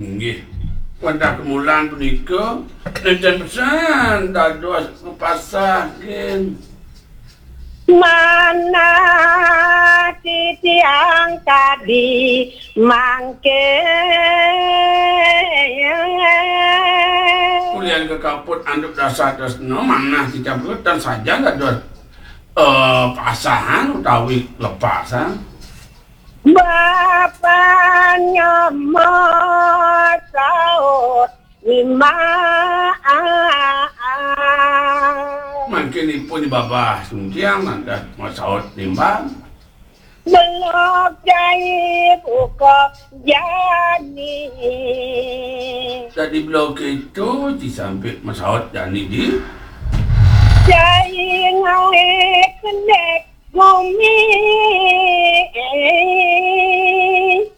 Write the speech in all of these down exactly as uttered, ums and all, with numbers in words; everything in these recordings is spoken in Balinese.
Inggih. Wantah kemulan punika, nénten pesan dados ngepasah gén. Manah titiang kadi mangkin. Ulian kakaput antuk dasar tresna, manah titiang punika tan sajan dados, eh, pasahan utawi lepasan. Bapa nyama saut nimbang. Mangkin ipun babah suntiang lantas masaut nimbang. Belog cai buka jani. Dadi belog kéto, ci Sampik masaut jani di. Cai ngawé kendék gumi.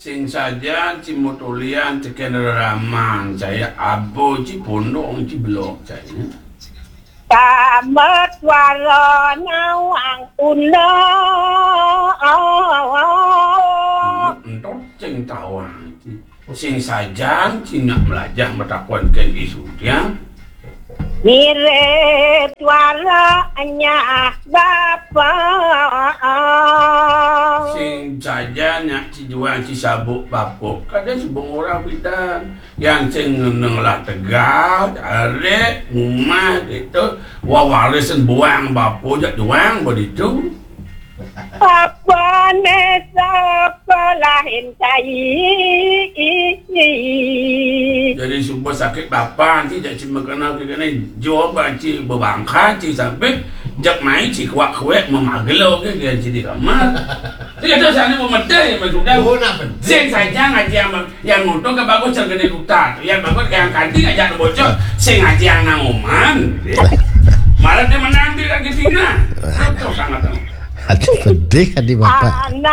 Sing sajan ci mutulian tekén reraman, cai abo ci pondong ci belog cai. Tamat wara nawang undang. Entut sing tawang. Sing sajan ci nyak melajah matakon kén isu tiang. Mirip wara nyah bapa. Sing sajan nyak ci juang ci sabuk bapa. Kadén subeng orang pidan. Yan sing ngelah tegal, aré, umah, gitu. Wawarisan buang bapa jak juang baditu. Apané sapalahin cai. Jadi suba sakit bapa, ci jak ci makena kéné, jua ci bebangka, ci Sampik, jak mai ci kuak-kuak memagelo ké, ci di kamar. Ci kéto sané pemedé, Mas Udang. Oh, nak penting. Sing saja ngaji ama-, yang untung ke bagus yang gedé duta. Yang bagus yang kanti ngajak bocor, sing ngaji anak oman. Malah dia menang di lagi Cina. Betul sangat. Aduh, pedih adi bapak. Anak